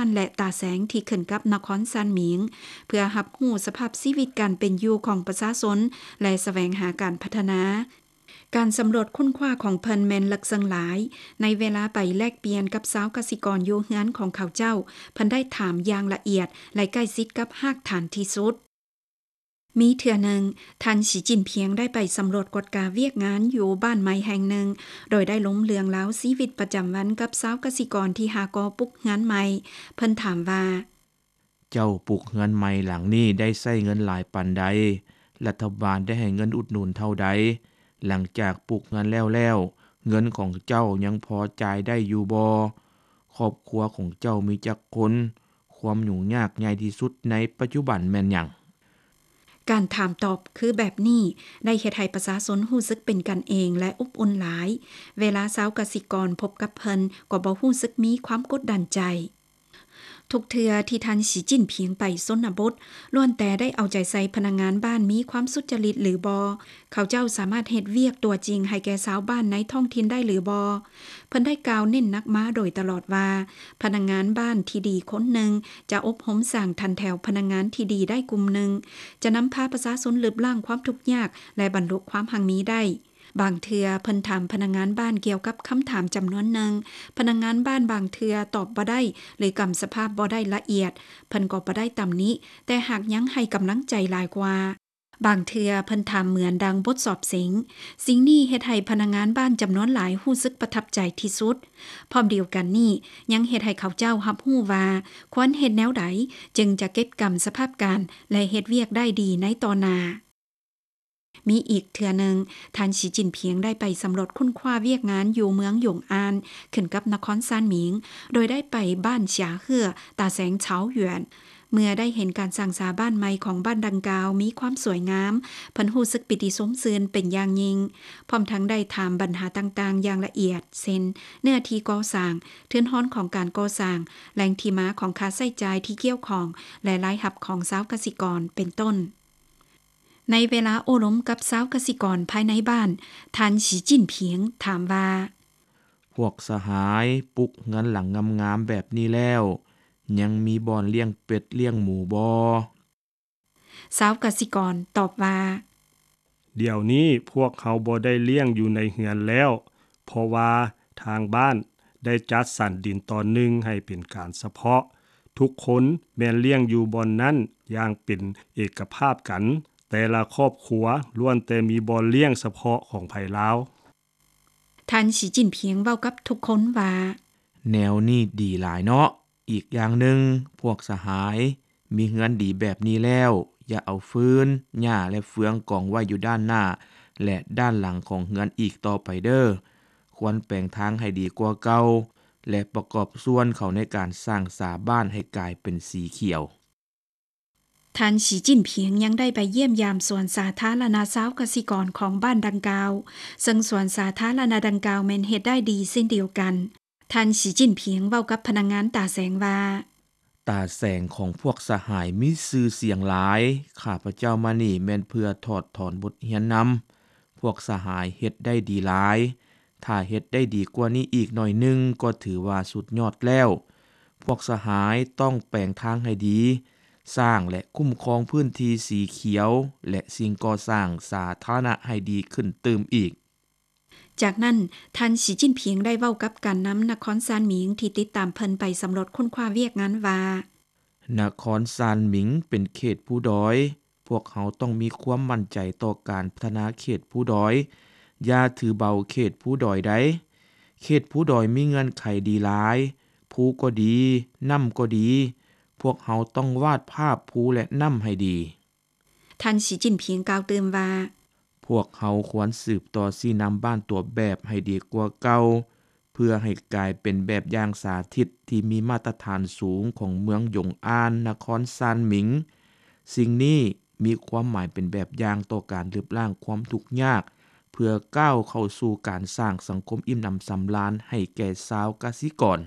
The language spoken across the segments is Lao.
ນ ແລະ ຕາແສງ ທີ່ຂຶ້ນກັບນະຄອນຊານໝິງ ເພື່ອຮັບຮູ້ສະພາບຊີວິດການເປັນຢູ່ຂອງປະຊາຊົນ ແລະ ສະແຫວງຫາການພັດທະນາ. ການສຳຫຼວດຄົ້ນຄວ້າຂອງເພິ່ນແມ່ນເລິກເຊິ່ງຫຼາຍ. ໃນເວລາໄປແລກປ່ຽນກັບຊາວກະສິກອນຢູ່ເຮືອນຂອງເຂົາເຈົ້າ, ເພິ່ນໄດ້ຖາມຢ່າງລະອຽດ ແລະ ໃກ້ຊິດກັບຮາກຖານທີ່ສຸດ. ມີເທື່ອໜຶ່ງ, ທ່ານ ສີຈິ້ນພຽງ ໄດ້ໄປສຳຫຼວດກວດກາວຽກງານຢູ່ບ້ານໃໝ່ແຫ່ງໜຶ່ງ, ໂດຍໄດ້ລົງເລື່ອງລາວຊີວິດປະຈຳວັນກັບຊາວກະສິກອນທີ່ຫາກໍ່ປຸກເຮືອນໃໝ່. ເພິ່ນຖາມວ່າ, ເຈົ້າປຸກເຮືອນໃໝ່ຫຼັງນີ້ໄດ້ໃຊ້ເງິນຫຼາຍປານໃດ? ລັດຖະບານໄດ້ໃຫ້ເງິນອຸດໜູນເທົ່າໃດ? ຫຼັງຈາກປຸກເຮືອນແລ້ວແລ້ວ, ເງິນຂອງເຈົ້າຍັງພໍຈ່າຍໄດ້ຢູ່ບໍ່? ຄອບຄົວຂອງເຈົ້າມີຈັກຄົນ? ຄວາມຫຍຸ້ງຍາກໃຫຍ່ທີ່ສຸດໃນປັດຈຸບັນແມ່ນຫຍັງ? ການຖາມຕອບຄືແບບນີ້ ໄດ້ເຮັດໃຫ້ປະຊາຊົນຮູ້ສຶກເປັນກັນເອງ ແລະ ອົບອຸ່ນຫຼາຍ. ເວລາຊາວກະສິກອນພົບກັບເພິ່ນ ກໍບໍ່ຮູ້ສຶກມີຄວາມກົດດັນໃຈ. ທຸກເທື່ອທີ່ທ່ານ ສີຈິ້ນພຽງ ໄປຊົນນະບົດ, ລ້ວນແຕ່ໄດ້ເອົາໃຈໃສ່ພະນັກງານບ້ານມີຄວາມສຸດຈະລິດຫຼືບໍ່, ເຂົາເຈົ້າສາມາດເຮັດວຽກຕົວຈິງໃຫ້ແກ່ຊາວບ້ານໃນທ້ອງຖິ່ນໄດ້ຫຼືບໍ່. ເພິ່ນໄດ້ກ່າວເນັ້ນໜັກມາໂດຍຕະຫຼອດວ່າ, ພະນັກງານບ້ານທີ່ດີຄົນໜຶ່ງຈະອົບຮົມສ້າງຖັນແຖວພະນັກງານທີ່ດີໄດ້ກຸ່ມໜຶ່ງ, ຈະນຳພາປະຊາຊົນລຶບລ້າງຄວາມທຸກຍາກ ແລະ ບັນລຸຄວາມຮັ່ງມີໄດ້. ບາງເທື່ອເພິ່ນຖາມພະນັກງານບ້ານກ່ຽວກັບຄຳຖາມຈຳນວນໜຶ່ງ, ພະນັກງານບ້ານບາງເທື່ອຕອບບໍ່ໄດ້ ຫຼື ກຳສະພາບບໍ່ໄດ້ລະອຽດ, ເພິ່ນກໍບໍ່ໄດ້ຕຳໜິ, ແຕ່ຫາກຍັງໃຫ້ກຳລັງໃຈຫຼາຍກວ່າ. ບາງເທື່ອເພິ່ນຖາມເໝືອນດັ່ງບົດສອບເສັງ. ສິ່ງນີ້ເຮັດໃຫ້ພະນັກງານບ້ານຈຳນວນຫຼາຍຮູ້ສຶກປະທັບໃຈທີ່ສຸດ. ພ້ອມດຽວກັນນີ້, ຍັງເຮັດໃຫ້ເຂົາເຈົ້າຮັບຮູ້ວ່າຄວນເຮັດແນວໃດຈຶ່ງຈະເກັບກຳສະພາບການ ແລະ ເຮັດວຽກໄດ້ດີໃນຕໍ່ໜ້າ. ມີອີກເທື່ອໜຶ່ງ, ທ່ານ ສີຈິ້ນພຽງ ໄດ້ໄປສຳຫຼວດຄົ້ນຄວ້າວຽກງານຢູ່ເມືອງຢົງອານ ຂຶ້ນກັບນະຄອນຊານໝິງ, ໂດຍໄດ້ໄປບ້ານສາເຮືອ ຕາແສງເຊົາຢວນ. ເມື່ອໄດ້ເຫັນການສ້າງສາບ້ານໃໝ່ຂອງບ້ານດັ່ງກ່າວມີຄວາມສວຍງາມ, ເພິ່ນຮູ້ສຶກປີຕິຊົມຊື່ນເປັນຢ່າງຍິ່ງ, ພ້ອມທັງໄດ້ຖາມບັນຫາຕ່າງໆຢ່າງລະອຽດ ເຊັ່ນ ເນື້ອທີ່ກໍ່ສ້າງ, ທຶນຮອນຂອງການກໍ່ສ້າງ, ແຫຼ່ງທີ່ມາຂອງຄ່າໃຊ້ຈ່າຍທີ່ກ່ຽວຂ້ອງ ແລະ ລາຍຮັບຂອງຊາວກະສິກອນ ເປັນຕົ້ນ. ໃນເວລາໂອ້ລົມກັບຊາວກະສິກອນພາຍໃນບ້ານ, ທ່ານ ສີຈິ້ນພຽງ ຖາມວ່າ, ພວກສະຫາຍ, ປຸກເຮືອນຫຼັງງາມໆແບບນີ້ແລ້ວ, ຍັງມີບ່ອນລ້ຽງເປັດລ້ຽງໝູບໍ່? ຊາວກະສິກອນຕອບວ່າ, ດຽວນີ້ພວກເຮົາບໍ່ໄດ້ລ້ຽງຢູ່ໃນເຮືອນແລ້ວ, ເພາະວ່າທາງບ້ານໄດ້ຈັດສັນດິນຕອນໜຶ່ງໃຫ້ເປັນການສະເພາະ. ທຸກຄົນແມ່ນລ້ຽງຢູ່ບ່ອນນັ້ນຢ່າງເປັນເອກະພາບກັນ, ແຕ່ລະຄອບຄົວລ້ວນແຕ່ມີບ່ອນລ້ຽງສະເພາະຂອງໃຜລາວ. ທ່ານ ສີຈິ້ນພຽງ ເວົ້າກັບທຸກຄົນວ່າ, ແນວນີ້ດີຫຼາຍເນາະ. ອີກຢ່າງໜຶ່ງ, ພວກສະຫາຍ, ມີເຮືອນດີແບບນີ້ແລ້ວ, ຢ່າເອົາຟືນ, ຫຍ້າ ແລະ ເຟືອງກອງໄວ້ຢູ່ດ້ານໜ້າ ແລະ ດ້ານຫຼັງຂອງເຮືອນອີກຕໍ່ໄປເດີ້. ຄວນແປງທາງໃຫ້ດີກວ່າເກົ່າ ແລະ ປະກອບສ່ວນເຂົ້າໃນການສ້າງສາບ້ານໃຫ້ກາຍເປັນສີຂຽວ. ທ່ານ ສີຈິ້ນພຽງ ຍັງໄດ້ໄປຢ້ຽມຢາມສວນສາທາລະນະຊາວກະສິກອນຂອງບ້ານດັ່ງກ່າວ, ເຊິ່ງສວນສາທາລະນະດັ່ງກ່າວແມ່ນເຮັດໄດ້ດີເຊັ່ນດຽວກັນ. ທ່ານ ສີຈິ້ນພຽງ ເວົ້າກັບພະນັກງານຕາແສງວ່າ, ຕາແສງຂອງພວກສະຫາຍມີຊື່ສຽງຫຼາຍ, ຂ້າພະເຈົ້າມານີ້ແມ່ນເພື່ອຖອດຖອນບົດຮຽນນຳ. ພວກສະຫາຍເຮັດໄດ້ດີຫຼາຍ. ຖ້າເຮັດໄດ້ດີກວ່ານີ້ອີກໜ້ອຍໜຶ່ງກໍຖືວ່າສຸດຍອດແລ້ວ. ພວກສະຫາຍຕ້ອງແປງທາງໃຫ້ດີ, ສ້າງ ແລະ ຄຸ້ມຄອງພື້ນທີ່ສີຂຽວ ແລະ ສິ່ງກໍ່ສ້າງສາທາລະນະໃຫ້ດີຂຶ້ນຕື່ມອີກ. ຈາກນັ້ນ, ທ່ານ ສີຈິ້ນພຽງ ໄດ້ເວົ້າກັບການນຳນະຄອນຊານໝິງທີ່ຕິດຕາມເພິ່ນໄປສຳຫຼວດຄົ້ນຄວ້າວຽກງານວ່າ, ນະຄອນຊານໝິງເປັນເຂດພູດອຍ, ພວກເຮົາຕ້ອງມີຄວາມໝັ້ນໃຈຕໍ່ການພັດທະນາເຂດພູດອຍ. ຢ່າຖືເບົາເຂດພູດອຍໃດ. ເຂດພູດອຍມີເງື່ອນໄຂດີຫຼາຍ, ພູກໍດີ, ນ້ຳກໍດີ. ພວກເຮົາຕ້ອງວາດພາບພູ ແລະ ນ້ຳໃຫ້ດີ. ທ່ານ ສີຈິ້ນພຽງ ກ່າວຕື່ມວ່າ, ພວກເຮົາຄວນສືບຕໍ່ຊີ້ນຳບ້ານຕົວແບບໃຫ້ດີກວ່າເກົ່າ, ເພື່ອໃຫ້ກາຍເປັນແບບຢ່າງສາທິດທີ່ມີມາດຕະຖານສູງຂອງເມືອງຢົງອານ, ນະຄອນຊານໝິງ. ສິ່ງນີ້ມີຄວາມໝາຍເປັນແບບຢ່າງຕໍ່ການລຶບລ້າງຄວາມທຸກຍາກ, ເພື່ອກ້າວເຂົ້າສູ່ການສ້າງສັງຄົມອີ່ມໜຳສຳລານໃຫ້ແກ່ຊາວກະສິກອນ.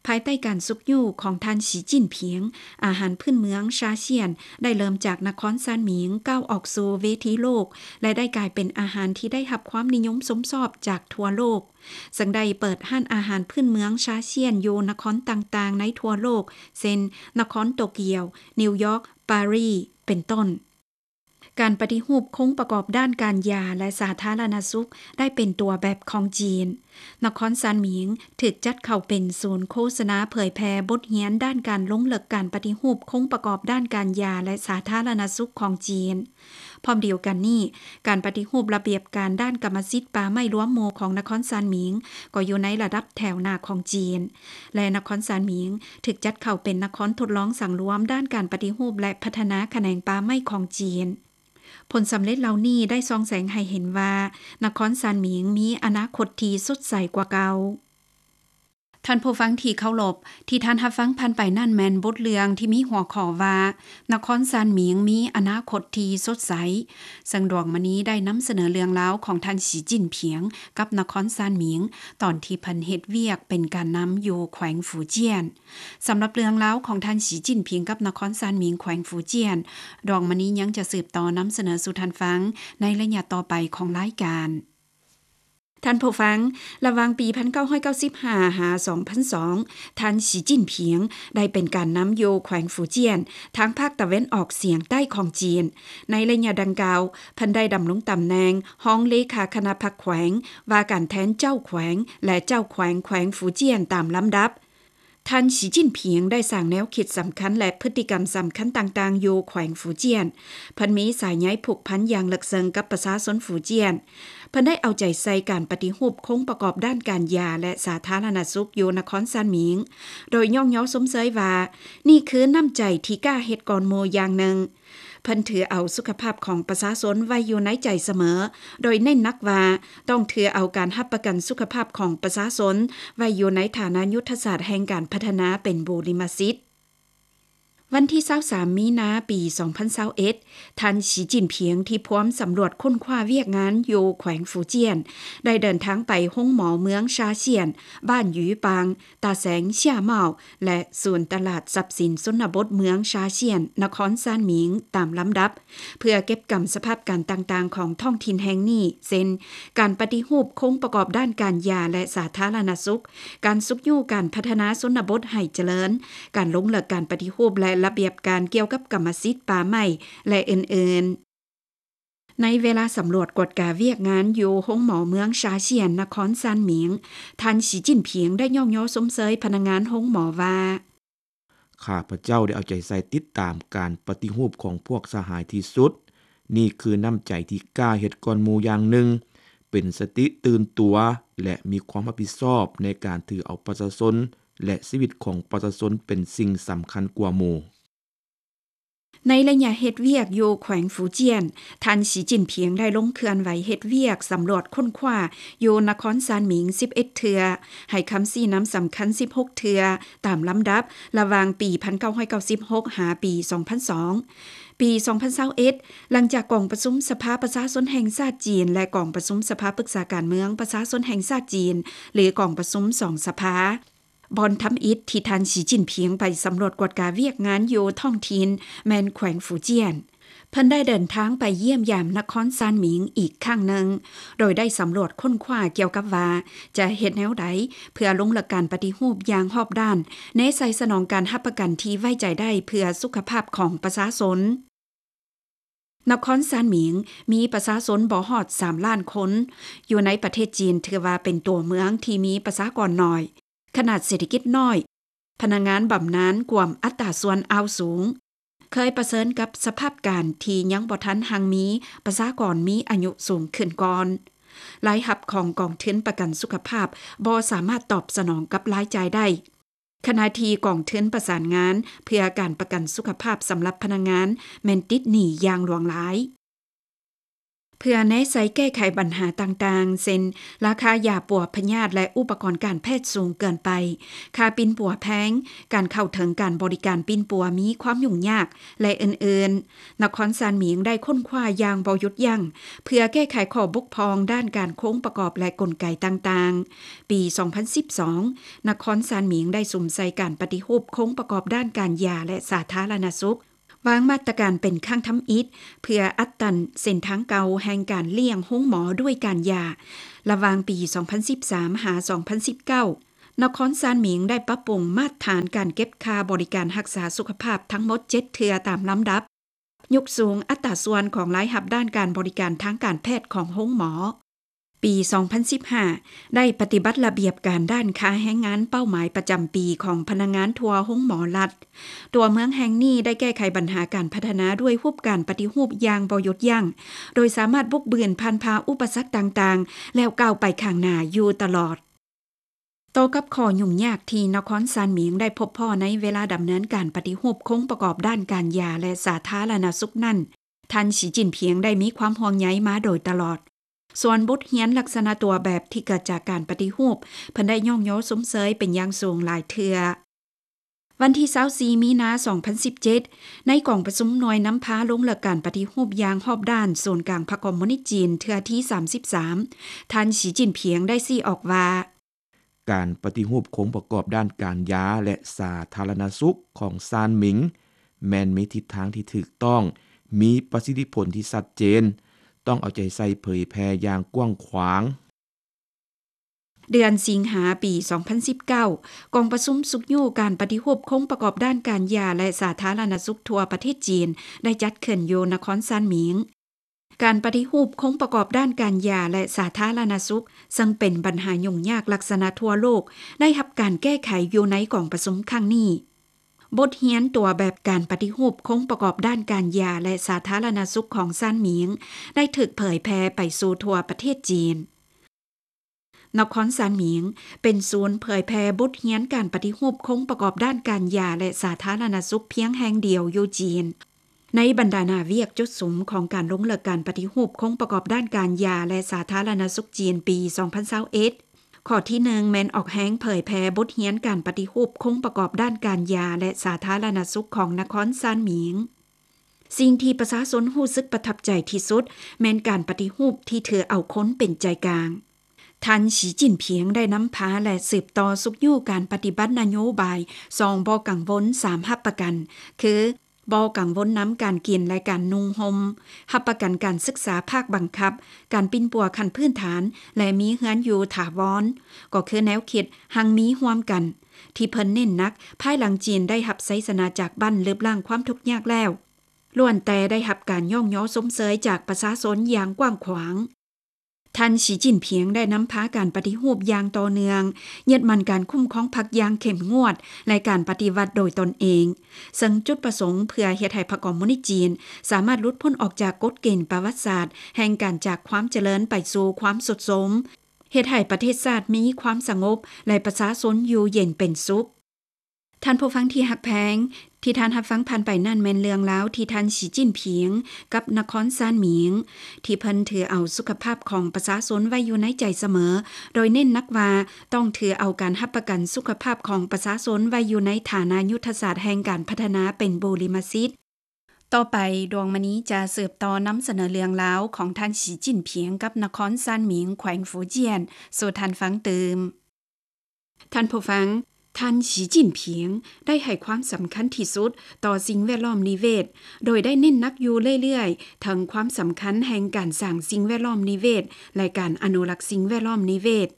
ພາຍໃຕ້ການຊຸກຍູ້ຂອງທ່ານ ສີ ຈິ້ນຜິງ, ອາຫານພື້ນເມືອງຊາຊຽນ ໄດ້ເລີ່ມຈາກນະຄອນຊານໝິງ ກ້າວອອກສູ່ເວທີໂລກ ແລະ ໄດ້ກາຍເປັນອາຫານທີ່ໄດ້ຮັບຄວາມນິຍົມຊົມຊອບຈາກທົ່ວໂລກ, ເຊິ່ງໄດ້ເປີດຮ້ານອາຫານພື້ນເມືອງຊາຊຽນຢູ່ນະຄອນຕ່າງໆໃນທົ່ວໂລກ ເຊັ່ນ ນະຄອນໂຕກຽວ, ນິວຢອກ, ປາຣີ ເປັນຕົ້ນ. ການປະຕິຮູບໂຄງປະກອບດ້ານການຢາ ແລະ ສາທາລະນະສຸກ ໄດ້ເປັນຕົວແບບຂອງຈີນ. ນະຄອນຊານໝິງຖືກຈັດເຂົ້າເປັນສູນໂຄສະນາເຜີຍແຜ່ບົດຮຽນດ້ານການລົງເລິກການປະຕິຮູບໂຄງປະກອບດ້ານການຢາ ແລະ ສາທາລະນະສຸກຂອງຈີນ. ພ້ອມດຽວກັນນີ້, ການປະຕິຮູບລະບຽບການດ້ານກຳມະສິດປ່າໄມ້ລວມໝູ່ຂອງນະຄອນຊານໝິງ ກໍຢູ່ໃນລະດັບແຖວໜ້າຂອງຈີນ. ແລະ ນະຄອນຊານໝິງຖືກຈັດເຂົ້າເປັນນະຄອນທົດລອງສັງລວມດ້ານການປະຕິຮູບ ແລະ ພັດທະນາຂະແໜງປ່າໄມ້ຂອງຈີນ. ຜົນສຳເລັດເຫຼົ່ານີ້ໄດ້ສ່ອງແສງໃຫ້ເຫັນວ່າ ນະຄອນຊານໝິງມີອະນາຄົດທີ່ສົດໃສກວ່າເກົ່າ. ທ່ານຜູ້ຟັງທີ່ເຄົາລົບ, ທີ່ທ່ານຮັບຟັງຜ່ານໄປນັ້ນແມ່ນບົດເລື່ອງທີ່ມີຫົວຂໍ້ວ່າ ນະຄອນຊານໝິງມີອະນາຄົດທີ່ສົດໃສ, ເຊິ່ງດວງມະນີໄດ້ນຳສະເໜີເລື່ອງລາວຂອງທ່ານ ສີ ຈິ້ນຜິງ ກັບນະຄອນຊານໝິງ ຕອນທີ່ເພິ່ນເຮັດວຽກເປັນການນຳຢູ່ແຂວງຟູຈຽນ. ສຳລັບເລື່ອງລາວຂອງທ່ານ ສີ ຈິ້ນຜິງ ກັບນະຄອນຊານໝິງ ແຂວງຟູຈຽນ, ດວງມະນີຍັງຈະສືບຕໍ່ນຳສະເໜີສູ່ທ່ານຟັງໃນໄລຍະຕໍ່ໄປຂອງລາຍການ. ທ່ານຜູ້ຟັງ, ລະຫວ່າງປີໜຶ່ງພັນເກົ້າຮ້ອຍເກົ້າສິບຫ້າ ຫາ ສອງພັນສອງ, ທ່ານ ສີ ຈິ້ນຜິງ ໄດ້ເປັນການນຳຢູ່ແຂວງຟູຈຽນ ທາງພາກຕາເວັນອອກສຽງໃຕ້ຂອງຈີນ. ໃນໄລຍະດັ່ງກ່າວ, ເພິ່ນໄດ້ດຳລົງຕຳແໜ່ງຮອງເລຂາຄະນະພັກແຂວງ, ວ່າການແທນເຈົ້າແຂວງ ແລະ ເຈົ້າແຂວງແຂວງຟູຈຽນຕາມລຳດັບ. ທ່ານ ສີ ຈິ້ນຜິງ ໄດ້ສ້າງແນວຄິດສຳຄັນ ແລະ ພຶດຕິກຳສຳຄັນຕ່າງໆຢູ່ແຂວງຟູຈຽນ. ເພິ່ນມີສາຍໃຍຜູກພັນຢ່າງເລິກເຊິ່ງກັບປະຊາຊົນຟູຈຽນ. ເພິ່ນໄດ້ເອົາໃຈໃສ່ການປະຕິຮູບໂຄງປະກອບດ້ານການຢາ ແລະ ສາທາລະນະສຸກຢູ່ນະຄອນຊານໝິງ, ໂດຍຍ້ອງຍໍຊົມເຊີຍວ່າ ນີ້ຄືນ້ຳໃຈທີ່ກ້າເຮັດກ່ອນໝູ່ຢ່າງໜຶ່ງ. ເພິ່ນຖືເອົາສຸຂະພາບຂອງປະຊາຊົນໄວ້ຢູ່ໃນໃຈສະເໝີ, ໂດຍເນັ້ນໜັກວ່າ ຕ້ອງຖືເອົາການຮັບປະກັນສຸຂະພາບຂອງປະຊາຊົນໄວ້ຢູ່ໃນຖານະຍຸດທະສາດແຫ່ງການພັດທະນາເປັນບູລິມະສິດ. ວັນທີຊາວສາມ ມີນາ ປີສອງພັນຊາວເອັດ, ທ່ານ ສີ ຈິ້ນຜິງ ທີ່ພວມສຳຫຼວດຄົ້ນຄວ້າວຽກງານຢູ່ແຂວງຟູຈຽນ ໄດ້ເດີນທາງໄປໂຮງໝໍເມືອງຊາຊຽນ, ບ້ານຢຸຍປາງ, ຕາແສງເຊຍເມົ້າ ແລະ ສູນຕະຫຼາດຊັບສິນຊົນນະບົດເມືອງຊາຊຽນ ນະຄອນຊານໝິງ ຕາມລຳດັບ ເພື່ອເກັບກຳສະພາບການຕ່າງໆຂອງທ້ອງຖິ່ນແຫ່ງນີ້ ເຊັ່ນ ການປະຕິຮູບໂຄງປະກອບດ້ານການຢາ ແລະ ສາທາລະນະສຸກ, ການຊຸກຍູ້ການພັດທະນາຊົນນະບົດໃຫ້ຈະເລີນ, ການລົງເລິກການປະຕິຮູບ ແລະ ລະບຽບການກ່ຽວກັບກຳມະສິດປ່າໄມ້ ແລະ ອື່ນໆ. ໃນເວລາສຳຫຼວດກວດກາວຽກງານຢູ່ໂຮງໝໍເມືອງຊາຊຽນ ນະຄອນຊານໝິງ, ທ່ານ ສີ ຈິ້ນຜິງ ໄດ້ຍ້ອງຍໍຊົມເຊີຍພະນັກງານໂຮງໝໍວ່າ, ຂ້າພະເຈົ້າໄດ້ເອົາໃຈໃສ່ຕິດຕາມການປະຕິຮູບຂອງພວກສະຫາຍທີ່ສຸດ. ນີ້ຄືນ້ຳໃຈທີ່ກ້າເຮັດກ່ອນໝູ່ຢ່າງໜຶ່ງ, ເປັນສະຕິຕື່ນຕົວ ແລະ ມີຄວາມຮັບຜິດຊອບໃນການຖືເອົາປະຊາຊົນ ແລະ ຊີວິດຂອງປະຊາຊົນເປັນສິ່ງສຳຄັນກວ່າໝູ່. ໃນໄລຍະເຮັດວຽກຢູ່ແຂວງຟູຈຽນ, ທ່ານ ສີ ຈິ້ນຜິງ ໄດ້ລົງເຄື່ອນໄຫວເຮັດວຽກສຳຫຼວດຄົ້ນຄວ້າຢູ່ນະຄອນຊານໝິງ ສິບເອັດ ເທື່ອ, ໃຫ້ຄຳຊີ້ນຳສຳຄັນ ສິບຫົກ ເທື່ອ ຕາມລຳດັບ ລະຫວ່າງປີໜຶ່ງພັນເກົ້າຮ້ອຍເກົ້າສິບຫົກ ຫາປີສອງພັນສອງ. ປີສອງພັນຊາວເອັດ, ຫຼັງຈາກກອງປະຊຸມສະພາປະຊາຊົນແຫ່ງຊາດຈີນ ແລະ ກອງປະຊຸມສະພາປຶກສາການເມືອງປະຊາຊົນແຫ່ງຊາດຈີນ ຫຼື ກອງປະຊຸມສອງສະພາ, ບ່ອນທຳອິດທີ່ທ່ານ ສີ ຈິ້ນຜິງ ໄປສຳຫຼວດກວດກາວຽກງານຢູ່ທ້ອງຖິ່ນ ແມ່ນແຂວງຟູຈຽນ. ເພິ່ນໄດ້ເດີນທາງໄປຢ້ຽມຢາມນະຄອນຊານໝິງອີກຄັ້ງໜຶ່ງ, ໂດຍໄດ້ສຳຫຼວດຄົ້ນຄວ້າກ່ຽວກັບວ່າ ຈະເຮັດແນວໃດເພື່ອລົງເລິກການປະຕິຮູບຢ່າງຮອບດ້ານ, ແນໃສ່ສະໜອງການຮັບປະກັນທີ່ໄວ້ໃຈໄດ້ເພື່ອສຸຂະພາບຂອງປະຊາຊົນ. ນະຄອນຊານໝິງມີປະຊາຊົນບໍ່ຮອດສາມລ້ານຄົນ, ຢູ່ໃນປະເທດຈີນຖືວ່າເປັນຕົວເມືອງທີ່ມີປະຊາກອນໜ້ອຍ, ຂະໜາດເສດຖະກິດນ້ອຍ, ພະນັກງານບຳນານກວມອັດຕາສ່ວນອາວສູງ, ເຄີຍປະເຊີນກັບສະພາບການທີ່ຍັງບໍ່ທັນຮັ່ງມີ, ປະຊາກອນມີອາຍຸສູງຂຶ້ນກ່ອນ. ລາຍຮັບຂອງກອງທຶນປະກັນສຸຂະພາບບໍ່ສາມາດຕອບສະໜອງກັບລາຍຈ່າຍໄດ້. ຂະນະທີ່ກອງທຶນປະສານງານເພື່ອການປະກັນສຸຂະພາບສຳລັບພະນັກງານແມ່ນຕິດໜີ້ຢ່າງຫຼວງຫຼາຍ. ເ ເພື່ອແນໃສ່ແກ້ໄຂບັນຫາຕ່າງໆ ເຊັ່ນ ລາຄາຢາປົວພະຍາດ ແລະ ອຸປະກອນການແພດສູງເກີນໄປ, ຄ່າປິ່ນປົວແພງ, ການເຂົ້າເຖິງການບໍລິການປິ່ນປົວມີຄວາມຫຍຸ້ງຍາກ ແລະ ອື່ນໆ, ນະຄອນຊານໝິງໄດ້ຄົ້ນຄວ້າຢ່າງບໍ່ຢຸດຢັ້ງ ເພື່ອແກ້ໄຂຂໍ້ບົກຜ່ອງດ້ານການຄົງປະກອບ ແລະ ກົນໄກຕ່າງໆ. ປີສອງພັນສິບສອງ ນະຄອນຊານໝິງໄດ້ສຸມໃສ່ການປະຕິຮູບໂຄງປະກອບດ້ານການຢາ ແລະ ສາທາລະນະສຸກ, ວາງມາດຕະການເປັນຄັ້ງທຳອິດ ເພື່ອອັດຕັນເສັ້ນທາງເກົ່າແຫ່ງການລ້ຽງໂຮງໝໍດ້ວຍການຢາ. ລະຫວ່າງປີສອງພັນສິບສາມ ຫາ ສອງພັນສິບເກົ້າ ນະຄອນຊານໝິງໄດ້ປັບປຸງມາດຖານການເກັບຄ່າບໍລິການຮັກສາສຸຂະພາບທັງໝົດເຈັດເທື່ອຕາມລຳດັບ, ຍົກສູງອັດຕາສ່ວນຂອງລາຍຮັບດ້ານການບໍລິການທາງການແພດຂອງໂຮງໝໍ. ປີສອງພັນສິບຫ້າ ໄດ້ປະຕິບັດລະບຽບການດ້ານຄ່າແຮງງານເປົ້າໝາຍປະຈຳປີຂອງພະນັກງານທົ່ວໂຮງໝໍລັດ. ຕົວເມືອງແຫ່ງນີ້ໄດ້ແກ້ໄຂບັນຫາການພັດທະນາດ້ວຍຮູບການປະຕິຮູບຢ່າງບໍ່ຢຸດຢັ້ງ, ໂດຍສາມາດບຸກບືນຜ່ານຜ່າອຸປະສັກຕ່າງໆ ແລ້ວກ້າວໄປຂ້າງໜ້າຢູ່ຕະຫຼອດ. ຕໍ່ກັບຂໍ້ຫຍຸ້ງຍາກທີ່ນະຄອນຊານໝິງໄດ້ພົບພໍ້ໃນເວລາດຳເນີນການປະຕິຮູບໂຄງປະກອບດ້ານການຢາ ແລະ ສາທາລະນະສຸກນັ້ນ, ທ່ານ ສີຈິ້ນຜິງ ໄດ້ມີຄວາມຫ່ວງໃຍມາໂດຍຕະຫຼອດ. ສ່ວນບົດຮຽນລັກສະນະຕົວແບບທີ່ເກີດຈາກການປະຕິຮູບ, ເພິ່ນໄດ້ຍ້ອງຍໍຊົມເຊີຍເປັນຢ່າງສູງຫຼາຍເທື່ອ. ວັນທີຊາວສີ່ ມີນາ ສອງພັນສິບເຈັດ ໃນກອງປະຊຸມໜ່ວຍນຳພາລົງເລິກການປະຕິຮູບຢ່າງຮອບດ້ານສູນກາງພັກຄອມມູນິດຈີນເທື່ອທີ ສາມສິບສາມ ທ່ານ ສີຈິ້ນຜິງ ໄດ້ຊີ້ອອກວ່າ, ການປະຕິຮູບໂຄງປະກອບດ້ານການຢາ ແລະ ສາທາລະນະສຸກຂອງຊານໝິງ ແມ່ນມີທິດທາງທີ່ຖືກຕ້ອງ, ມີປະສິດທິຜົນທີ່ຊັດເຈນ, ຕ້ອງເອົາໃຈໃສ່ເຜີຍແຜ່ຢ່າງກວ້າງຂວາງ. ເດືອນສິງຫາ ປີສອງພັນສິບເກົ້າ ກອງປະຊຸມຊຸກຍູ້ການປະຕິຮູບໂຄງປະກອບດ້ານການຢາ ແລະ ສາທາລະນະສຸກທົ່ວປະເທດຈີນ ໄດ້ຈັດຂຶ້ນຢູ່ນະຄອນຊານໝິງ. ການປະຕິຮູບໂຄງປະກອບດ້ານການຢາ ແລະ ສາທາລະນະສຸກ, ເຊິ່ງເປັນບັນຫາຫຍຸ້ງຍາກລັກສະນະທົ່ວໂລກ, ໄດ້ຮັບການແກ້ໄຂຢູ່ໃນກອງປະຊຸມຄັ້ງນີ້. ບົດຮຽນຕົວແບບການປະຕິຮູບໂຄງປະກອບດ້ານການຢາ ແລະ ສາທາລະນະສຸກຂອງຊານໝິງ ໄດ້ຖືກເຜີຍແຜ່ໄປສູ່ທົ່ວປະເທດຈີນ. ນະຄອນຊານໝິງ ເປັນສູນເຜີຍແຜ່ບົດຮຽນການປະຕິຮູບໂຄງປະກອບດ້ານການຢາ ແລະ ສາທາລະນະສຸກພຽງແຫ່ງດຽວຢູ່ຈີນ. ໃນບັນດາໜ້າວຽກຈຸດສຸມຂອງການລົງເລິກການປະຕິຮູບໂຄງປະກອບດ້ານການຢາ ແລະ ສາທາລະນະສຸກຈີນປີສອງພັນຊາວເອັດ, ຂໍ້ທີໜຶ່ງ ແມ່ນອອກແຮງເຜີຍແຜ່ບົດຮຽນການປະຕິຮູບໂຄງປະກອບດ້ານການຢາ ແລະ ສາທາລະນະສຸກຂອງນະຄອນຊານໝິງ. ສິ່ງທີ່ປະຊາຊົນຮູ້ສຶກປະທັບໃຈທີ່ສຸດ ແມ່ນການປະຕິຮູບທີ່ຖືເອົາຄົນເປັນໃຈກາງ. ທ່ານ ສີຈິ້ນຜິງ ໄດ້ນຳພາ ແລະ ສືບຕໍ່ຊຸກຍູ້ການປະຕິບັດນະໂຍບາຍສອງບໍ່ກັງວົນ ສາມຮັບປະກັນ ຄື ບໍ່ກັງວົນນຳການກິນ ແລະ ການນຸ່ງຫົ່ມ, ຮັບປະກັນການສຶກສາພາກບັງຄັບ, ການປິ່ນປົວຂັ້ນພື້ນຖານ ແລະ ມີເຮືອນຢູ່ຖາວອນ, ກໍຄືແນວຄິດຮັ່ງມີຮ່ວມກັນ ທີ່ເພິ່ນເນັ້ນໜັກພາຍຫຼັງຈີນໄດ້ຮັບໄຊຊະນະຈາກບັ້ນລຶບລ້າງຄວາມທຸກຍາກແລ້ວ, ລ້ວນແຕ່ໄດ້ຮັບການຍ້ອງຍໍຊົມເຊີຍຈາກປະຊາຊົນຢ່າງກວ້າງຂວາງ. ທ່ານ ສີຈິ້ນຜິງ ໄດ້ນຳພາການປະຕິຮູບຢ່າງຕໍ່ເນື່ອງ, ຍຶດໝັ້ນການຄຸ້ມຄອງພັກຢ່າງເຂັ້ມງວດ ແລະ ການປະຕິວັດໂດຍຕົນເອງ, ເຊິ່ງຈຸດປະສົງເພື່ອເຮັດໃຫ້ພັກຄອມມູນິດຈີນສາມາດຫຼຸດພົ້ນອອກຈາກກົດເກນປະຫວັດສາດແຫ່ງການຈາກຄວາມຈະເລີນໄປສູ່ຄວາມຊຸດໂຊມ, ເຮັດໃຫ້ປະເທດຊາດມີຄວາມສະຫງົບ ແລະ ປະຊາຊົນຢູ່ເຢັນເປັນສຸກ. ທ່ານຜູ້ຟັງທີ່ຮັກແພງ, ທີ່ທ່ານຮັບຟັງຜ່ານໄປນັ້ນແມ່ນເລື່ອງລາວທີ່ທ່ານ ສີຈິ້ນຜິງ ກັບນະຄອນຊານໝິງ ທີ່ເພິ່ນຖືເອົາສຸຂະພາບຂອງປະຊາຊົນໄວ້ຢູ່ໃນໃຈສະເໝີ, ໂດຍເນັ້ນໜັກວ່າຕ້ອງຖືເອົາການຮັບປະກັນສຸຂະພາບຂອງປະຊາຊົນໄວ້ຢູ່ໃນຖານະຍຸດທະສາດແຫ່ງການພັດທະນາເປັນບູລິມະສິດ. ຕໍ່ໄປ ດວງມະນີຈະສືບຕໍ່ນຳສະເໜີເລື່ອງລາວຂອງທ່ານ ສີຈິ້ນຜິງ ກັບນະຄອນຊານໝິງ ແຂວງຟູຈຽນ ສູ່ທ່ານຟັງຕື່ມ. ທ່ານຜູ້ຟັງ, ທ່ານ ສີຈິ້ນຜິງ ໄດ້ໃຫ້ຄວາມສຳຄັນທີ່ສຸດຕໍ່ສິ່ງແວດລ້ອມນິເວດ, ໂດຍໄດ້ເນັ້ນໜັກຢູ່ເລື້ອຍໆ ເຖິງຄວາມສຳຄັນແຫ່ງການສ້າງສິ່ງແວດລ້ອມນິເວດ ແລະ ການອະນຸລັກສິ່ງແວດລ້ອມນິເວດ.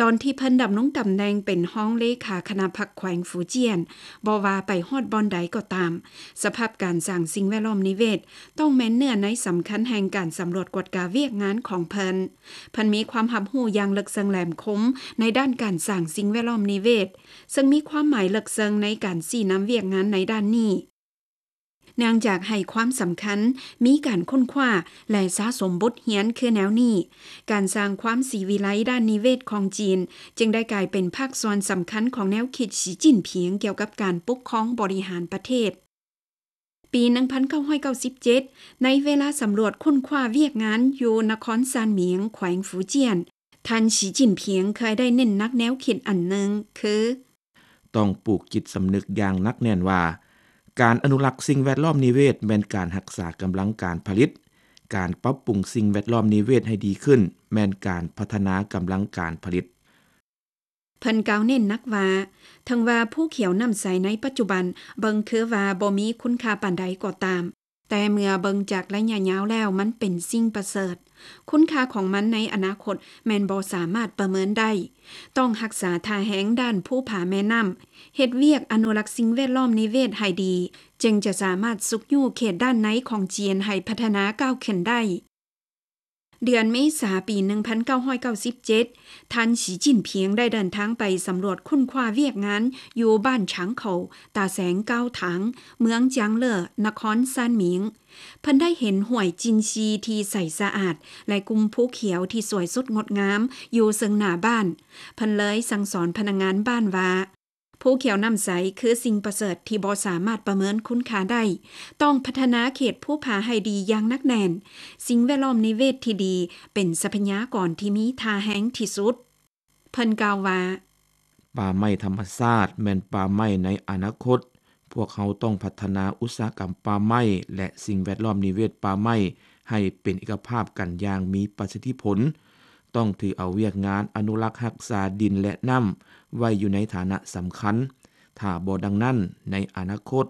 ຕອນທີ່ເພິ່ນດຳລົງຕຳແໜ່ງເປັນຮອງເລຂາຄະນະພັກແຂວງຟູຈຽນ, ບໍ່ວ່າໄປຮອດບ່ອນໃດກໍຕາມ, ສະພາບການສ້າງສິ່ງແວດລ້ອມນິເວດ ຕ້ອງແມ່ນເນື້ອໃນສຳຄັນແຫ່ງການສຳຫຼວດກວດກາວຽກງານຂອງເພິ່ນ. ເພິ່ນມີຄວາມຮັບຮູ້ຢ່າງເລິກເຊິ່ງແຫຼມຄົມໃນດ້ານການສ້າງສິ່ງແວດລ້ອມນິເວດ, ເຊິ່ງມີຄວາມໝາຍເລິກເຊິ່ງໃນການຊີ້ນຳວຽກງານໃນດ້ານນີ້. ເນື່ອງຈາກໃຫ້ຄວາມສຳຄັນ, ມີການຄົ້ນຄວ້າ ແລະ ສະສົມບົດຮຽນຄືແນວນີ້, ການສ້າງຄວາມສີວິໄລດ້ານນິເວດຂອງຈີນ ຈຶ່ງໄດ້ກາຍເປັນພາກສ່ວນສຳຄັນຂອງແນວຄິດສີຈິ້ນຜິງກ່ຽວກັບການປົກຄອງບໍລິຫານປະເທດ. ປີໜຶ່ງພັນເກົ້າຮ້ອຍເກົ້າສິບເຈັດ ໃນເວລາສຳຫຼວດຄົ້ນຄວ້າວຽກງານຢູ່ນະຄອນຊານໝຽງ ແຂວງຟູຈຽນ, ທ່ານ ສີຈິ້ນຜິງ ເຄີຍໄດ້ເນັ້ນໜັກແນວຄິດອັນໜຶ່ງ ຄື: ຕ້ອງປູກຈິດສຳນຶກຢ່າງໜັກແໜ້ນວ່າ ການອະນຸລັກສິ່ງແວດລ້ອມນິເວດແມ່ນການຮັກສາກຳລັງການຜະລິດ, ການປັບປຸງສິ່ງແວດລ້ອມນິເວດໃຫ້ດີຂຶ້ນ ແມ່ນການພັດທະນາກຳລັງການຜະລິດ. ເພິ່ນກ່າວເນັ້ນໜັກວ່າ ເຖິງວ່າພູຂຽວນ້ຳໃສໃນປັດຈຸບັນເບິ່ງຄືວ່າບໍ່ມີຄຸນຄ່າປານໃດກໍຕາມ, ແຕ່ເມື່ອເບິ່ງຈາກໄລຍະຍາວແລ້ວມັນເປັນສິ່ງປະເສີດ. ຄຸນຄ່າຂອງມັນໃນອະນາຄົດແມ່ນບໍ່ສາມາດປະເມີນໄດ້. ຕ້ອງຮັກສາທ່າແຮງດ້ານພູຜາແມ່ນ້ຳ, ເຮັດວຽກອະນຸລັກສິ່ງແວດລ້ອມນິເວດໃຫ້ດີ, ຈຶ່ງຈະສາມາດຊຸກຍູ້ເຂດດ້ານໃນຂອງຈີນໃຫ້ພັດທະນາກ້າວຂຶ້ນໄດ້. ເດືອນເມສາປີໜຶ່ງພັນເກົ້າຮ້ອຍເກົ້າສິບເຈັດ ທ່ານ ສີຈິ້ນຜິງ ໄດ້ເດີນທາງໄປສຳຫຼວດຄົ້ນຄວ້າວຽກງານຢູ່ບ້ານຊາງເຂົາ, ຕາແສງກ້າວຖາງ, ເມືອງຈາງເລີ, ນະຄອນຊານໝິງ. ເພິ່ນໄດ້ເຫັນຫ້ວຍຈິນຊີທີ່ໃສສະອາດ ແລະ ກຸ່ມພູຂຽວທີ່ສວຍສົດງົດງາມຢູ່ເຊິ່ງໜ້າບ້ານ. ເພິ່ນເລີຍສັ່ງສອນພະນັກງານບ້ານວ່າ ພູຂຽວນ້ຳໃສຄືສິ່ງປະເສີດທີ່ບໍ່ສາມາດປະເມີນຄຸນຄ່າໄດ້. ຕ້ອງພັດທະນາເຂດພູຜາໃຫ້ດີຢ່າງໜັກແໜ້ນ. ສິ່ງແວດລ້ອມນິເວດທີ່ດີເປັນຊັບພະຍາກອນທີ່ມີຄ່າແຮງທີ່ສຸດ. ເພິ່ນກ່າວວ່າ ປ່າໄມ້ທຳມະຊາດແມ່ນປ່າໄມ້ໃນອະນາຄົດ. ພວກເຮົາຕ້ອງພັດທະນາອຸດສາຫະກຳປ່າໄມ້ ແລະ ສິ່ງແວດລ້ອມນິເວດປ່າໄມ້ໃຫ້ເປັນເອກະພາບກັນຢ່າງມີປະສິດທິຜົນ. ຕ້ອງຖືເອົາວຽກງານອະນຸລັກຮັກສາດິນ ແລະ ນ້ຳໄວ້ຢູ່ໃນຖານະສຳຄັນ. ຖ້າບໍ່ດັ່ງນັ້ນ, ໃນອະນາຄົດ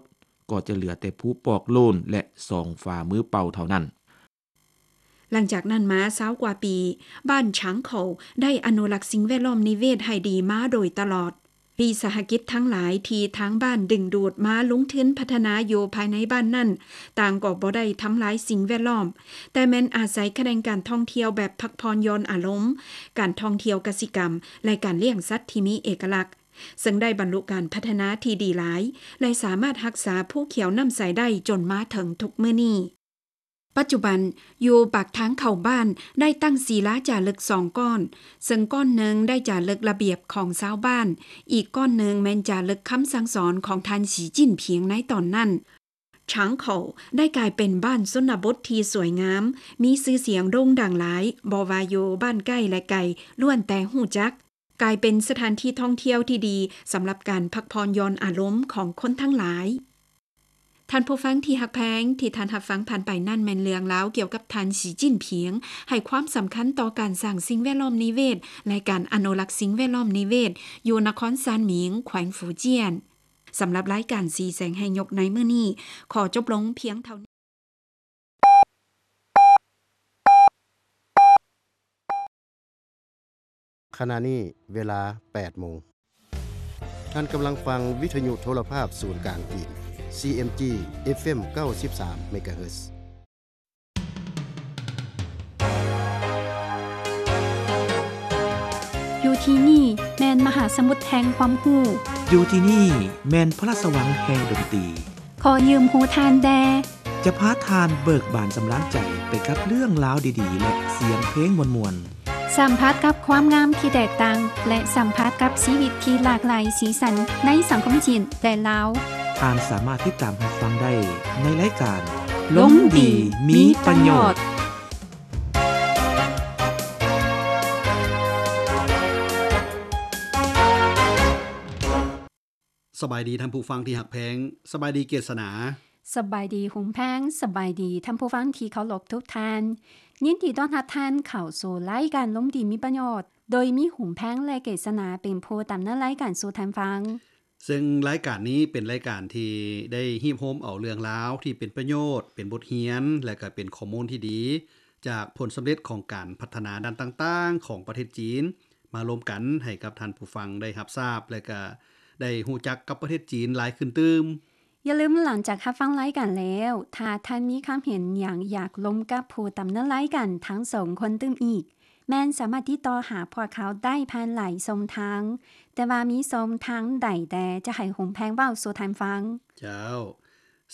ກໍຈະເຫຼືອແຕ່ພູປອກໂລ້ນ ແລະ ສອງຝ່າມືເປົ່າເທົ່ານັ້ນ. ຫຼັງຈາກນັ້ນມາຊາວກວ່າປີ, ບ້ານຊາງເຂົາໄດ້ອະນຸລັກສິ່ງແວດລ້ອມນິເວດໃຫ້ດີມາໂດຍຕະຫຼອດ. ວິສາຫະກິດທັງຫຼາຍທີ່ທາງບ້ານດຶງດູດມາລົງທຶນພັດທະນາຢູ່ພາຍໃນບ້ານນັ້ນ, ຕ່າງກໍບໍ່ໄດ້ທຳລາຍສິ່ງແວດລ້ອມ, ແຕ່ແມ່ນອາໄສຂະແໜງການທ່ອງທ່ຽວແບບພັກຜ່ອນຢ່ອນອາລົມ, ການທ່ອງທ່ຽວກະສິກຳ ແລະ ການລ້ຽງສັດທີ່ມີເອກະລັກ, ເຊິ່ງໄດ້ບັນລຸການພັດທະນາທີ່ດີຫຼາຍ ແລະ ສາມາດຮັກສາພູຂຽວນ້ຳໃສໄດ້ຈົນມາເຖິງທຸກມື້ນີ້. ປັດຈຸບັນ, ຢູ່ປາກທາງເຂົ້າບ້ານໄດ້ຕັ້ງສີລາຈາລຶກສອງກ້ອນ, ເຊິ່ງກ້ອນໜຶ່ງໄດ້ຈາລຶກລະບຽບຂອງຊາວບ້ານ, ອີກກ້ອນໜຶ່ງແມ່ນຈາລຶກຄຳສັ່ງສອນຂອງທ່ານ ສີຈິ້ນຜິງ ໃນຕອນນັ້ນ. ຊາງເຂົາໄດ້ກາຍເປັນບ້ານຊົນນະບົດທີ່ສວຍງາມ, ມີຊື່ສຽງໂດ່ງດັງຫຼາຍ, ບໍ່ວ່າຢູ່ບ້ານໃກ້ ແລະ ໄກ, ລ້ວນແຕ່ຮູ້ຈັກ. ກາຍເປັນສະຖານທີ່ທ່ອງທ່ຽວທີ່ດີສຳລັບການພັກຜ່ອນຢ່ອນອາລົມຂອງຄົນທັງຫຼາຍ. ທ່ານຜູ້ຟັງທີ່ຮັກແພງ, ທີ່ທ່ານຮັບຟັງຜ່ານໄປນັ້ນແມ່ນເລື່ອງລາວກ່ຽວກັບທ່ານ ສີຈິ້ນຜິງ ໃຫ້ຄວາມສຳຄັນຕໍ່ການສ້າງສິ່ງແວດລ້ອມນິເວດ ແລະ ການອະນຸລັກສິ່ງແວດລ້ອມນິເວດ ຢູ່ນະຄອນຊານໝິງ, ແຂວງຟູຈຽນ. ສຳລັບລາຍການສີແສງໃຫ້ຍົກໃນມື້ນີ້ ຂໍຈົບລົງພຽງເທົ່ານີ້. ຂະນະນີ້ເວລາແປດໂມງ. ທ່ານກຳລັງຟັງວິທະຍຸໂທລະພາບສູນກາງຈີນ ຊີເອັມຈີ ເອັຟເອັມ ເກົ້າສິບສາມ ເມກາເຮີດ. ຢູ່ທີ່ນີ້ແມ່ນມະຫາສະໝຸດແຫ່ງຄວາມຮູ້. ຢູ່ທີ່ນີ້ແມ່ນພະລາຊະວັງແຫ່ງດົນຕີ. ຂໍຢືມຫູທ່ານແດ່. ຈະພາທ່ານເບີກບານສຳລານໃຈໄປກັບເລື່ອງລາວດີໆ ແລະ ສຽງເພງມ່ວນໆ. ສຳຜັດກັບຄວາມງາມທີ່ແຕກຕ່າງ ແລະ ສຳຜັດກັບຊີວິດທີ່ຫຼາກຫຼາຍສີສັນໃນສັງຄົມຈີນ ແລະ ລາວ. ທ່ານສາມາດຕິດຕາມຮັບຟັງໄດ້ໃນລາຍການ ລົມດີມີປະໂຫຍດ. ສະບາຍດີທ່ານຜູ້ຟັງທີ່ຮັກແພງ, ສະບາຍດີເກດສະໜາ. ສະບາຍດີຫຸມແພງ, ສະບາຍດີທ່ານຜູ້ຟັງທີ່ເຄົາລົບທຸກທ່ານ. ຍິນດີຕ້ອນຮັບທ່ານເຂົ້າສູ່ລາຍການລົມດີມີປະໂຫຍດ, ໂດຍມີຫຸມແພງ ແລະ ເກດສະໜາເປັນຜູ້ດຳເນີນລາຍການສູ່ທ່ານຟັງ. ເຊິ່ງລາຍການນີ້ເປັນລາຍການທີ່ໄດ້ຮຽບໂຮມເອົາເລື່ອງລາວທີ່ເປັນປະໂຫຍດ, ເປັນບົດຮຽນ ແລະ ກະເປັນຂໍ້ມູນທີ່ດີ ຈາກຜົນສຳເລັດຂອງການພັດທະນາດ້ານຕ່າງໆຂອງປະເທດຈີນ ມາລົມກັນໃຫ້ກັບທ່ານຜູ້ຟັງໄດ້ຮັບຊາບ ແລະ ກະໄດ້ຮູ້ຈັກກັບປະເທດຈີນຫຼາຍຂຶ້ນຕື່ມ. ຢ່າລືມ, ຫຼັງຈາກຮັບຟັງລາຍການແລ້ວ, ຖ້າທ່ານມີຄຳເຫັນຫຍັງຢາກລົມກັບຜູ້ດຳເນີນລາຍການທັງສອງຄົນຕື່ມອີກ, ແມ່ນສາມາດຕິດຕໍ່ຫາພວກເຂົາໄດ້ຜ່ານຫຼາຍຊ່ອງທາງ, ແຕ່ວ່າມີຊ່ອງທາງໃດແດ່ຈະໃຫ້ຫຸມແພງເວົ້າສູ່ທ່ານຟັງ? ເຈົ້າ.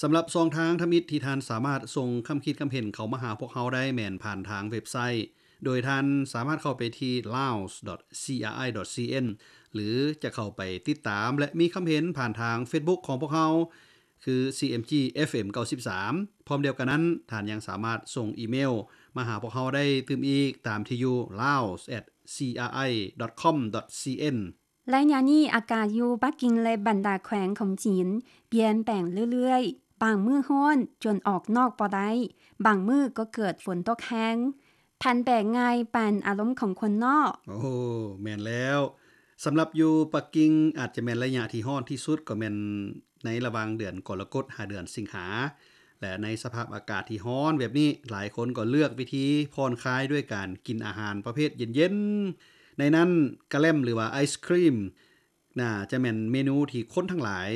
ສຳລັບຊ່ອງທາງທຳອິດທີ່ທ່ານສາມາດສົ່ງຄຳຄິດຄຳເຫັນເຂົ້າມາຫາພວກເຮົາໄດ້ແມ່ນຜ່ານທາງເວັບໄຊ, ໂດຍທ່ານສາມາດເຂົ້າໄປທີ່ laos dot C R I dot C N ຫຼື ຈະເຂົ້າໄປຕິດຕາມ ແລະ ມີຄຳເຫັນຜ່ານທາງເຟສບຸກຂອງພວກເຮົາ, ຄື CMG FM เก้าสิบสาม. ພ້ອມດຽວກັນນັ້ນ, ທ່ານຍັງສາມາດສົ່ງອີເມວມາຫາພວກເຮົາໄດ້ຕື່ມອີກ ຕາມທີ່ຢູ່ laos at cri.com.cn. ໄລຍະນີ້ອາກາດຢູ່ປັກກິ່ງ ແລະ ບັນດາແຂວງຂອງຈີນປ່ຽນແປງເລື້ອຍໆ, ບາງມື້ຮ້ອນຈົນອອກນອກບໍ່ໄດ້, ບາງມື້ກໍເກີດຝົນຕົກແຮງ. ພັນແປງງ່າຍປານອາລົມຂອງຄົນເນາະ. ໂອ້ ແມ່ນແລ້ວ. ສຳລັບຢູ່ປັກກິ່ງ ອາດຈະແມ່ນໄລຍະທີ່ຮ້ອນທີ່ສຸດ ກໍແມ່ນໃນລະຫວ່າງເດືອນກໍລະກົດຫາເດືອນສິງຫາ. ແລະ ໃນສະພາບອາກາດທີ່ຮ້ອນແບບນີ້, ຫຼາຍຄົນກໍເລືອກວິທີຜ່ອນຄາຍດ້ວຍການກິນອາຫານປະເພດເຢັນໆ. ໃນນັ້ນ ກະແລັມ ຫຼືວ່າໄອສຄຣີມ ໜ້າຈະແມ່ນເມນູທີ່ຄົນທັງຫຼາຍ